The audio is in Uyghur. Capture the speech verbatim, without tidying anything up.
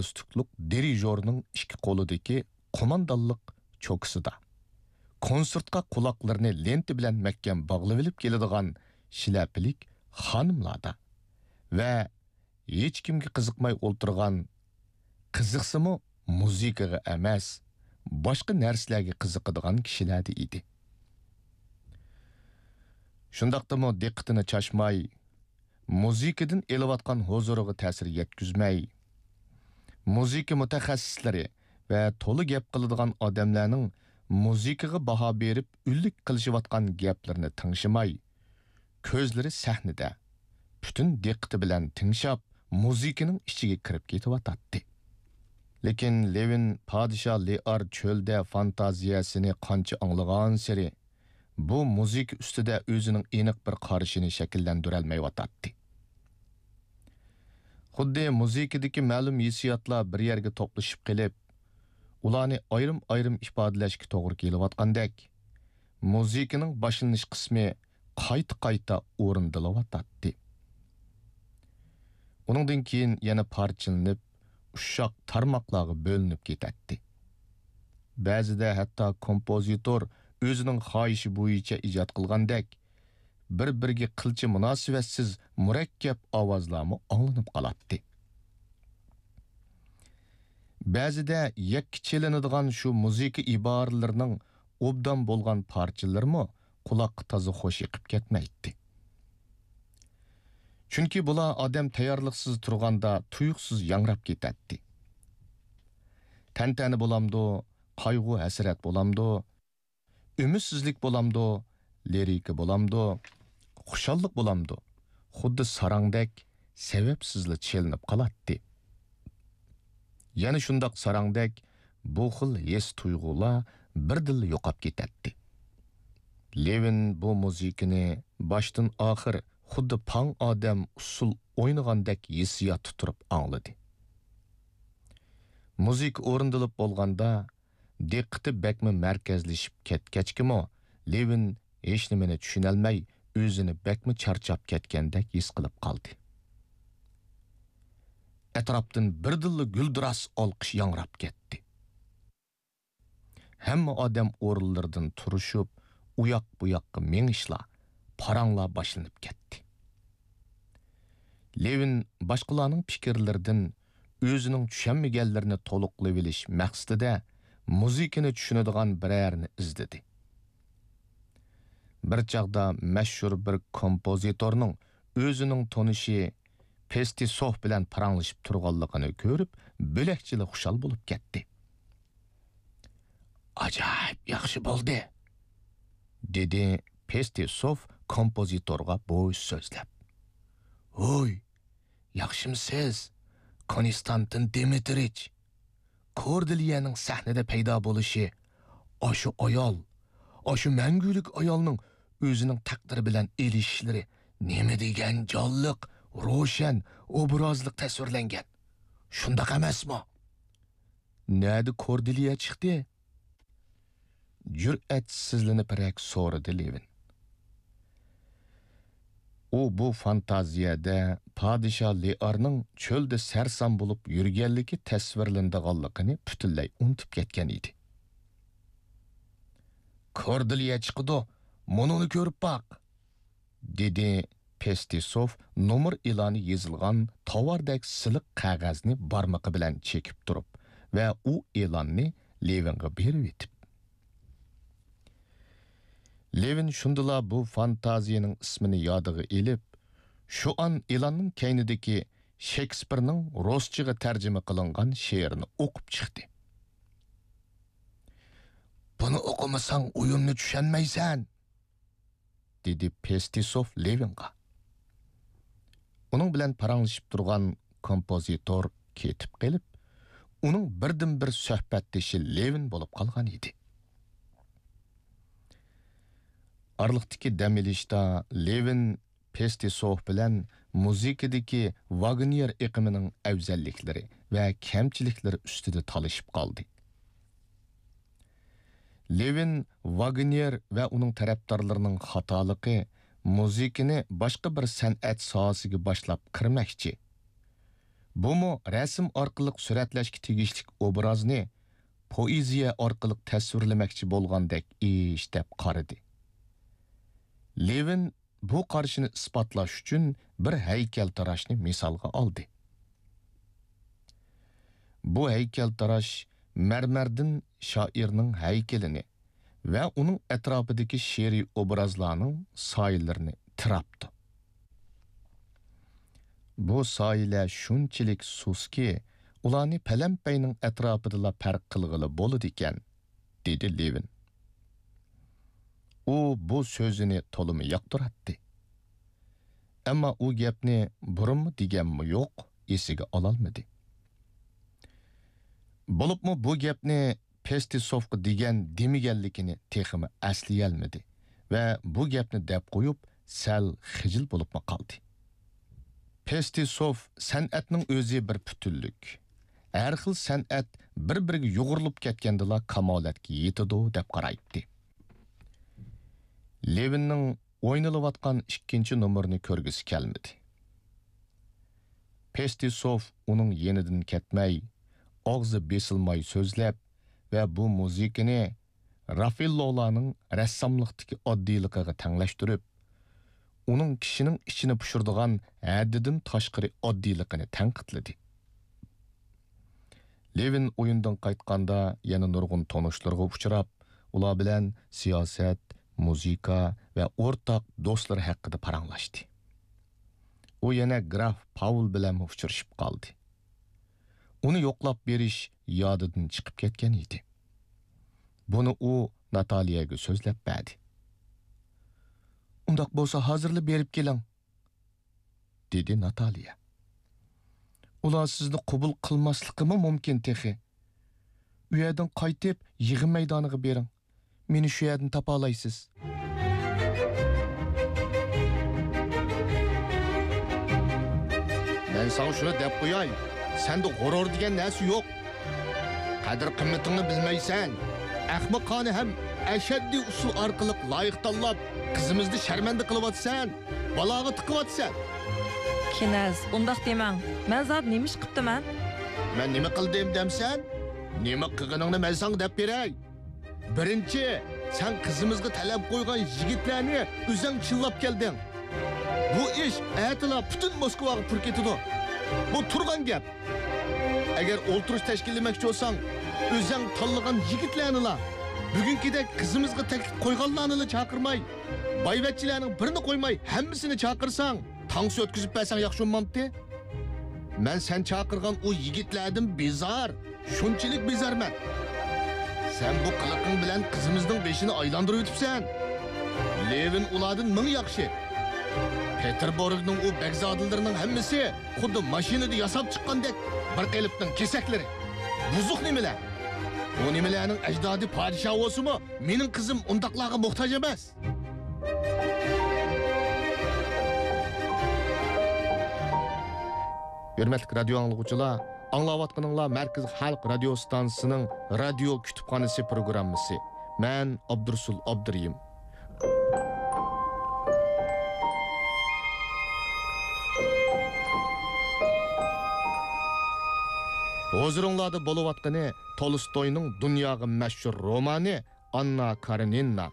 گالستۇكلۇق دىرىژورنىڭ ئىككى قولىدىكى قوماندانلىق چوكىسىدا، كونسېرتقا قۇلاقلىرىنى لېنتا بىلەن مەھكەم باغلىۋېلىپ كېلىدىغان شىلەپىلىك خانىملاردا ۋە ھېچكىمگە قىزىقماي ئولتۇرغان، قىزىقسىمۇ مۇزىكىغا ئەمەس، باشقا نەرسىلەرگە قىزىقىدىغان كىشىلەردە ئىدى. شۇنداقتىمۇ دىققىتىنى چاچماي، مۇزىكىدىن ئېلىۋاتقان ھۇزۇرىغا تەسىر يەتكۈزمەي، مۇزىكا مۇتەخەسسىسلىرى ۋە تولا گەپ قىلىدىغان ئادەملەرنىڭ مۇزىكىغا باھا بېرىپ ئۈنلۈك قىلىشىۋاتقان گەپلىرىنى تىڭشىماي، كۆزلىرى سەھنىدە، پۈتۈن دىققىتى بىلەن تىڭشاپ، مۇزىكىنىڭ ئىچىگە كىرىپ كېتىۋاتاتتى. لېكىن لېۋىن پادىشاھ لېئار چۆلدە فانتازىيەسىنى قانچە ئاڭلىغانسېرى، بۇ مۇزىكا ئۈستىدە ئۆزىنىڭ ئېنىق بىر قارىشىنى شەكىللەندۈرەلمەيۋاتاتتى. خۇددى مۇزىكىدىكى مەلۇم ھېسسىياتلار بىر يەرگە توپلىشىپ قېلىپ، ئۇلارنى ئايرىم-ئايرىم ئىپادىلەشكە توغرا كېلىۋاتقاندەك، مۇزىكىنىڭ باشلىنىش قىسمى قايتا-قايتا ئورۇندىلىۋاتاتتى. ئۇنىڭدىن كېيىن يەنە پارچىلىنىپ، ئۇششاق تارماقلارغا بۆلۈنۈپ كېتەتتى. بەزىدە ھەتتا كومپوزىتور ئۆزىنىڭ خاھىشى بويىچە ئىجاد قىلغاندەك، بىر-بىرىگە قىلچە مۇناسىۋەتسىز مۇرەككەپ ئاۋازلارمۇ ئاڭلىنىپ قالاتتى. بەزىدە يەككە چېلىنىدىغان شۇ مۇزىكا ئىبارىلىرىنىڭ ئوبدان بولغان پارچىلىرىمۇ قۇلاققا تازا خوش ئېقىپ كەتمەيتتى. چۈنكى بۇلار ئادەم تەييارلىقسىز تۇرغاندا تۇيۇقسىز ياڭراپ كېتەتتى. تەنتەنە بولامدۇ، قايغۇ-ھەسرەت بولامدۇ، ئۈمىدسىزلىك بولامدۇ، لىرىكا بولامدۇ، خۇشاللىق بولامدۇ، خۇددى ساراڭدەك سەۋەبسىزلا چېلىنىپ قالاتتى. يەنە شۇنداق ساراڭدەك بۇ خىل ھېس-تۇيغۇلار بىردىنلا يوقاپ كېتەتتى. لېۋىن بۇ مۇزىكىنى باشتىن-ئاخىر خۇددى پاڭ ئادەم ئۇسسۇل ئوينىغاندەك ھېسسىياتتا تۇرۇپ ئاڭلىدى. مۇزىكا ئورۇندىلىپ بولغاندا، دىققىتى بەكمۇ مەركەزلىشىپ كەتكەچكىمۇ، لېۋىن ھېچنېمىنى چۈشىنەلمەي، ئۆزىنى بەكمۇ چارچاپ كەتكەندەك ھېس قىلىپ قالدى. ئەتراپتىن بىردىنلا گۈلدۈراس ئالقىش ياڭراپ كەتتى. ھەممە ئادەم ئورۇنلىرىدىن تۇرۇشۇپ، ئۇياق-بۇياققا مېڭىشلار، پاراڭلار باشلىنىپ كەتتى. لېۋىن باشقىلارنىڭ پىكىرلىرىدىن ئۆزىنىڭ چۈشەنمىگەنلىرىنى تولۇقلىۋېلىش مەقسىتىدە مۇزىكىنى چۈشىنىدىغان بىرەرىنى ئىزدىدى. بىر چاغدا مەشھۇر بىر كومپوزىتورنىڭ ئۆزىنىڭ تونۇشى پېستىسوف بىلەن پاراڭلىشىپ تۇرغانلىقىنى كۆرۈپ، بۆلەكچىلا خۇشال بولۇپ كەتتى. «ئاجايىپ ياخشى بولدى!» دېدى پېستىسوف كومپوزىتورغا بوش سۆزلەپ. «ھوي، ياخشىمسىز، كونستانتىن دىمىترىچ؟ كوردېلىيەنىڭ سەھنىدە پەيدا بولۇشى، ئاشۇ ئايال، ئاشۇ مەڭگۈلۈك ئايالنىڭ ئۆزىنىڭ تەقدىرى بىلەن ئېلىشىشلىرى نېمە دېگەن جانلىق، روشەن، ئوبرازلىق تەسۋىرلەنگەن. شۇنداق ئەمەسمۇ؟» «نەدە كوردېلىيە چىقتى؟» جۈرئەتسىزلىنىپرەك سورىدى لېۋىن. ئۇ بۇ فانتازىيەدە پادىشاھ لېئارنىڭ چۆلدە سەرسان بولۇپ يۈرگەنلىكى تەسۋىرلىنىدىغانلىقىنى پۈتۈنلەي ئۇنتۇپ كەتكەن ئىدى. «كوردېلىيە چىقىدۇ، مۇنۇنى كۆرۈپ باق!» دېدى پېستىسوف نومۇر ئېلانى يېزىلغان تاۋاردەك سىلىق قەغەزنى بارمىقى بىلەن چېكىپ تۇرۇپ ۋە ئۇ ئېلاننى لېۋىنغا بېرىۋېتىپ. لېۋىن شۇندىلا بۇ فانتازىيىنىڭ ئىسمىنى يادىغا ئېلىپ، شۇئان ئېلاننىڭ كەينىدىكى شېكسپىرنىڭ رۇسچىغا تەرجىمە قىلىنغان شېئىرىنى ئوقۇپ چىقتى. «بۇنى ئوقۇمىساڭ ئويۇننى چۈشەنمەيسەن!» دېدى پېستىسوف لېۋىنغا. ئۇنىڭ بىلەن پاراڭلىشىپ تۇرغان كومپوزىتور كېتىپ قېلىپ، ئۇنىڭ بىردىنبىر سۆھبەتدىشى لېۋىن بولۇپ قالغان ئىدى. ئارىلىقتىكى دەم ئېلىشتا لېۋىن پېستىسوف بىلەن مۇزىكىدىكى ۋاگنېر ئېقىمىنىڭ ئەۋزەللىكلىرى ۋە كەمچىلىكلىرى ئۈستىدە تالىشىپ قالدى. لېۋىن ۋاگنېر ۋە ئۇنىڭ تەرەپدارلىرىنىڭ خاتالىقى مۇزىكىنى باشقا بىر سەنئەت ساھەسىگە باشلاپ كىرمەكچى، بۇمۇ رەسىم ئارقىلىق سۈرەتلەشكە تېگىشلىك ئوبرازنى پوئېزىيە ئارقىلىق تەسۋىرلىمەكچى بولغاندەك ئىش دەپ قارىدى. لېۋىن بۇ قارىشىنى ئىسپاتلاش ئۈچۈن بىر ھەيكەلتىراشنى مىسالغا ئالدى. بۇ ھەيكەلتىراش مەرمەردىن شائىرنىڭ ھەيكىلىنى ۋە ئۇنىڭ ئەتراپىدىكى شېئىرىي ئوبرازلارنىڭ سايىلىرىنى تىراپتۇ. بۇ سايىلەر شۇنچىلىك سۇسكى، ئۇلارنى پەلەمپەينىڭ ئەتراپىدىلا پەرق قىلغىلى بولىدىكەن، دېدى لېۋىن. ئۇ بۇ سۆزىنى تولىمۇ ياقتۇراتتى. ئەمما ئۇ گەپنى بۇرۇنمۇ دېگەنمۇ يوق، ئېسىگە ئالالمىدى. بولۇپمۇ بۇ گەپنى پېستىسوفقا دېگەن دېمىگەنلىكىنى تېخىمۇ ئەسلىيەلمىدى ۋە بۇ گەپنى دەپ قويۇپ، سەل خىجىل بولۇپمۇ قالدى. پېستىسوف سەنئەتنىڭ ئۆزى بىر پۈتۈنلۈك. ھەر خىل سەنئەت بىر-بىرىگە يۇغۇرۇلۇپ كەتكەندىلا كامالەتكە يېتىدۇ، دەپ قارايتتى. لېۋىننىڭ ئوينىلىۋاتقان ئىككىنچى نومۇرنى كۆرگۈسى كەلمىدى. پېستىسوف ئۇنىڭ يېنىدىن كەتمەي، ئاغزى بېسىلماي سۆزلەپ ۋە بۇ مۇزىكىنى رافېللولارنىڭ رەسساملىقتىكى ئاددىيلىقىغا تەڭلەشتۈرۈپ، ئۇنىڭ كىشىنىڭ ئىچىنى پۇشۇرىدىغان ھەددىدىن تاشقىرى ئاددىيلىقىنى تەنقىدلىدى. لېۋىن ئويۇندىن قايتقاندا يەنە نۇرغۇن تونۇشلىرىغا ئۇچراپ، ئۇلار بىلەن سىياسەت، مۇزىكا ۋە ئورتاق دوستلىرى ھەققىدە پاراڭلاشتى. ئۇ يەنە گراف پاۋل بىلەنمۇ ئۇچرىشىپ قالدى. ئۇنى يوقلاپ بېرىش يادىدىن چىقىپ كەتكەن ئىدى. بۇنى ئۇ ناتالىيەگە سۆزلەپ بەردى. «ئۇنداق بولسا ھازىرلا بېرىپ كېلىڭ.» دېدى ناتالىيە. «ئۇلار سىزنى قوبۇل قىلماسلىقىمۇ مۇمكىن تېخى. ئۇ يەردىن قايتىپ يىغىن مەيدانىغا بېرىڭ. مېنى شۇ يەردىن تاپالايسىز.» مەن ساڭا شۇنى دەپ قوياي، سەندە غۇرۇر دېگەن نەرسە يوق. قەدىر-قىممىتىڭنى بىلمەيسەن. ئەخمىقانە ھەم ئەشەددىي ئۇسۇل ئارقىلىق لايىق تاللاپ، قىزىمىزنى شەرمەندە قىلىۋاتىسەن، بالاغا تىقىۋاتىسەن. كىنەز، ئۇنداق دېمەڭ. مەن زادى نېمە ئىش قىپتىمەن؟ مەن نېمە قىلدىم دەمسەن؟ نېمە قىلغىنىڭنى مەن ساڭا دەپ بېرەي. بىرىنچى، سەن قىزىمىزغا تەلەپ قويغان يىگىتلەرنى ئۆزەڭ چىللاپ كەلدىڭ. بۇ ئىش ئەتىلا پۈتۈن موسكۋاغا پۇر كېتىدۇ. بۇ تۇرغان گەپ. ئەگەر ئولتۇرۇش تەشكىللىمەكچى بولساڭ، ئۆزەڭ تاللىغان يىگىتلەرنىلا، بۈگۈنكىدەك قىزىمىزغا تەكلىپ قويغانلارنىلا چاقىرماي، بايۋەچچىلەرنىڭ بىرىنى قويماي ھەممىسىنى چاقىرساڭ، تانسا ئۆتكۈزۈپ بەرسەڭ ياخشى بولمامتى؟ مەن سەن چاقىرغان ئۇ يىگىتلەردىن بىزار، شۇنچىلىك بىزارمەن. سەن بۇ قىلىقىڭ بىلەن قىزىمىزنىڭ بېشىنى ئايلاندۇرۇۋېتىپسەن. لېۋىن ئۇلاردىن مىڭ ياخشى. پېتېربۇرگنىڭ ئۇ بەگزادىلىرىنىڭ ھەممىسى خۇددى ماشىنىدا ياساپ چىققاندەك بىر قېلىپنىڭ كېسەكلىرى. بۇزۇق نېمىلەر. بۇ نېمىلەرنىڭ ئەجدادى پادىشاھ بولسىمۇ، مېنىڭ قىزىم ئۇنداقلارغا موھتاج ئەمەس. ھۆرمەتلىك رادىيو ئاڭلىغۇچىلار، ئاڭلاۋاتقىنىڭلار مەركىزىي خەلق رادىيو ئىستانسىسىنىڭ رادىيو كۇتۇپخانىسى پروگراممىسى. مەن ئابدۇرۇسۇل ئابدۇرېھىم. ھۇزۇرۇڭلاردا بولۇۋاتقىنى تولستوينىڭ دۇنياغا مەشھۇر رومانى ئاننا كارېنىنا.